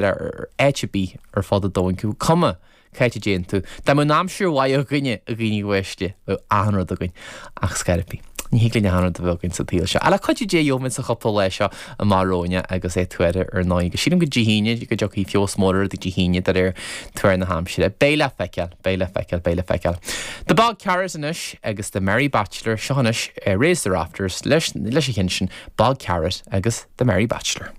Ar áit ar bith ar fud an domhain, cuma cá háit a dtéann tú. Dá mbeadh an aimsir mhaith againne, a dhaoine uaisle, bheadh achan rud againn. Ach ar scor ar bith, ní thig linn achan rud a bheith againn sa tsaol seo. Ach le cuidiú Dé gheobhaimid sa chúpla lá seo amach romhainn agus é tuartha ar ndóigh. Agus sílim go Dé hAoine go dtiocfaidh feabhas mór ar rudaí Dé hAoine de réir tuar na haimsire. Beidh le feiceáil, beidh le feiceáil, beidh le feiceáil. The Bog Carrot anois agus The Merry Bachelor, seo anois Raise the Rafters leis leis an cheann sin, Bog Carrot agus The Merry Bachelor.